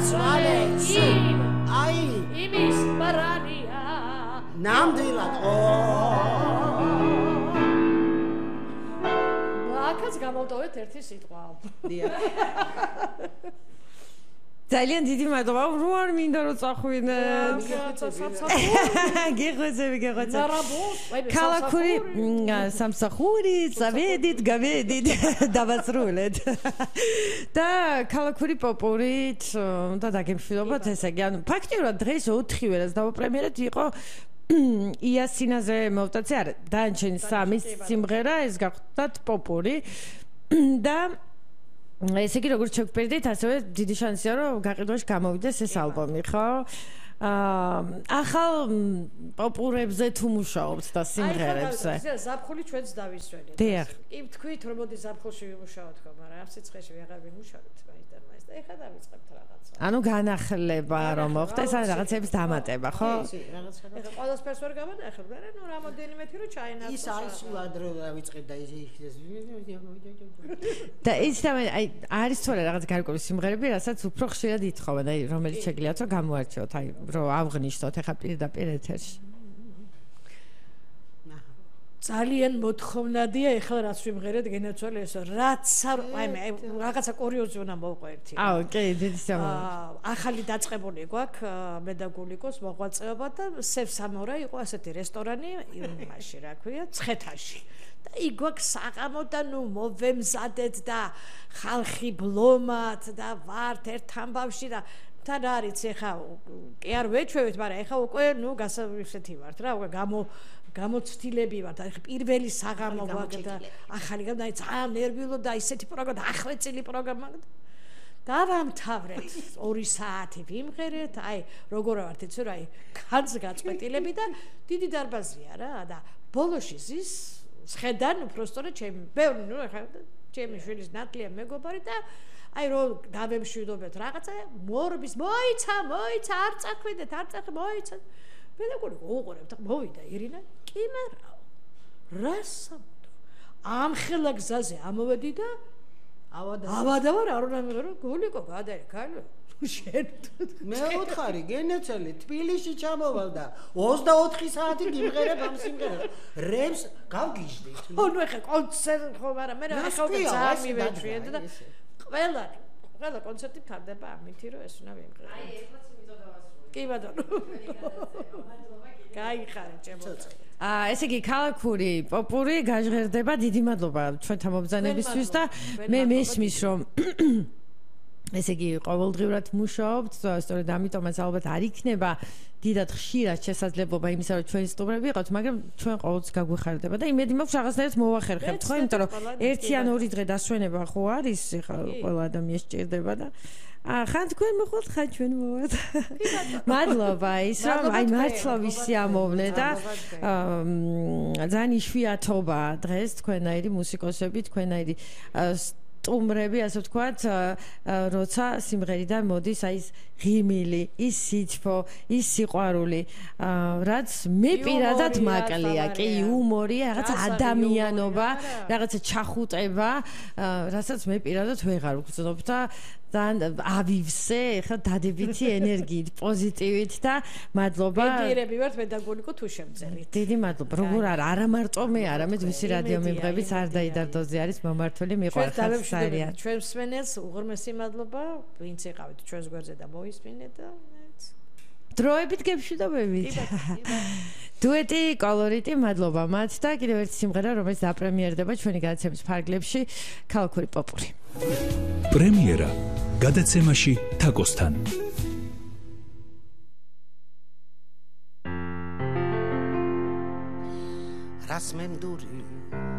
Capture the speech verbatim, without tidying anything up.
სვალე იმ აი იმის ბრალია ნამდვილად ო აქაც გამოვტოვეთ ერთი სიტყვა ძალიან დიდი მადლობა რო არ მინდა რომ წახვიდეთ გეღვეძები გეღვეძები ქალაქური სამსახური წავედით გავედით დავასრულეთ და ქალაქური პოპურით და დაგემშვიდობოთ ესე იგი ანუ ფაქტიურად დღეს ოთხი ვერას დავაპრემიერეთ იყო იასინაზე მოვტაცე არა დანჩენი სამი სიმღერა ეს გახდათ პოპური და ესე იგი როგორც შევფერდით ასევე დიდი შანსია რომ გაყიდვაში გამოვიდეს ეს ალბომი ხო აა ახალ პოპურებზე თუ მუშაობთ და სიმღერებზე აი ზაფხული ჩვენც დავისვენეთ დიახ კი თქვით რომ მოდი ზაფხულში ვიმუშაოთ ხო მაგრამ ამ სიცხეში ვეღარ ვიმუშაოთ მაინც და მაინც და ეხლა დავიწყებთ რაღაცა ანუ განახლება რომ მოხდეს ან რაღაცების დამატება ხო კი რაღაცა ეხლა ყველასფერს ვერ გამოდახებ მაგრამ ნუ რამოდენიმე თი რომ ჩაენაცვლო ის არის სულ ადრე დავიწყებ და ის და ის აი არის თორე რაღაც გარკვეული სიმღერები რასაც უფრო ხშირად ითხოვენ აი რომელიც შეგიძლიათ რომ გამოარჩიოთ აი რომ ავღნიშნოთ ეხლა პირდაპირ ეთერში ძალიან მოთხოვნადია ეხლა რაც ვიმღერეთ გენაცვალე ესო რაც აი მე რაღაცა კურიოზი უნდა მოვყვა ერთი აუ კი დიდი სამოვა ახალი დაწყებული გვაქვს მე და გულიკოს მოღვაწეობა და სევ სამორა იყო ასეთი რესტორანი იმაში რა ქვია ცხეთაში და იქ გვაქვს საღამო და ნუ მოვემზადეთ და ხალხი ბლომად და ვართ ერთ ამბავში და თან არის ეხა კი არ ვეჩვევით მაგრამ ეხა უკვე ნუ გასავრისეთი ვართ რა უკვე გამო გამოცდილები ვართ აი პირველი საღამო გვაქვს და ახალი გამ და აი ძალიან ნერვიულო და ისეთი პროგრამა ახვეწილი პროგრამა დავამთავრეთ ორი საათი ვიმღერეთ აი როგორ ვართ იცი რა აი ხანს გაწყვეტილები და დიდი დარბაზია რა და ბოლოში ზის შედან უბრალოდ ჩემი ბევრი ნუ ახლა ჩემი შვილის ნატლია მეგობარი და აი რო დავემშვიდობეთ რაღაცა მორბის მოიცა მოიცა არ წახვიდეთ არ წახ მოიცა მე და გული უყურებთ მოვიდა ირინა კი მარა რასამდო ამ ხელა გზაზე ამოვედი და ავადა ავადა ვარ არ უნდა მიყო გულიკო გადაი ქალო შენ მე უთხარი გენეცელი თბილისში ჩამოვალ და ოცდაოთხი საათი გიმღერებ ამ სიმღერას რემს გავგიჟდით ნუ ეხა კონცერტ ხო მაგრამ მე რა ხალხი ძალიან მივეჩვიეთ და ყველა ყველა კონცერტი ფარდება ამითი რომ ეს უნდა ვიმღერო აი ეხლაც იმითო დავასრულე კი ბატონო გაიხარე ჩემო აა ესე იგი ქალაქური პოპური გაჟღერდება დიდი მადლობა ჩვენთან მობრძანებისთვის და მე მესმის რომ ესე იგი ყოველდღიურად მუშაობთ სწორედ ამიტომაც ალბათ არ იქნება დიდად ხშირად შესაძლებლობა იმისა რომ ჩვენ სტუმრები ვიყავთ მაგრამ ჩვენ ყოველთვის გაგვეხარდება და იმედი მაქვს რაღაცნაირად მოვახერხებთ ხო იმიტომ რომ ერთი ან ორი დღე დასვენება ხო არის ეხლა ყველა ადამიანს სჭირდება და აა ხან თქვენ მოხვალ ხან ჩვენ მოვალ მადლობა ის რომ აი მართლა ვისიამოვნე და ძალიან იშვიათობა დღეს თქვენაირი მუსიკოსები თქვენაირი სტუმრები ასე ვთქვათ როცა სიმღერიდან მოდის აი ის ღიმილი ის სიჩფო ის სიყვარული რაც მე პირადად მაკლია კი იუმორია რაღაცა ადამიანობა რაღაცა ჩახუტება რასაც მე პირადად ვეღარ ვგრძნობ და ძალიან ავივსე ხა დადებითი ენერგიით პოზიტივით და მადლობა მეგიერები ვართ მე და გულიკო თუ შემწერით დიდი მადლობა როგორ არა არა მარტო მე არამედ ვისი რადიო მიმღებიც არ დაიდარდოზე არის მომართული მიყვარხარ საერთოდ ჩვენ მსმენელს უღრმესი მადლობა ვინც იყავით ჩვენს გვერდზე და მოისმინეთ და დროებით გემშვიდობებით დუეტი კოლორიტი მადლობა მათ და კიდევ ერთი სიმღერა რომელიც დაპრემიერდება ჩვენი გადაცემის ფარგლებში ქალაქური პოპური პრემიერა გადაცემაში თაკოსთან რას მემდური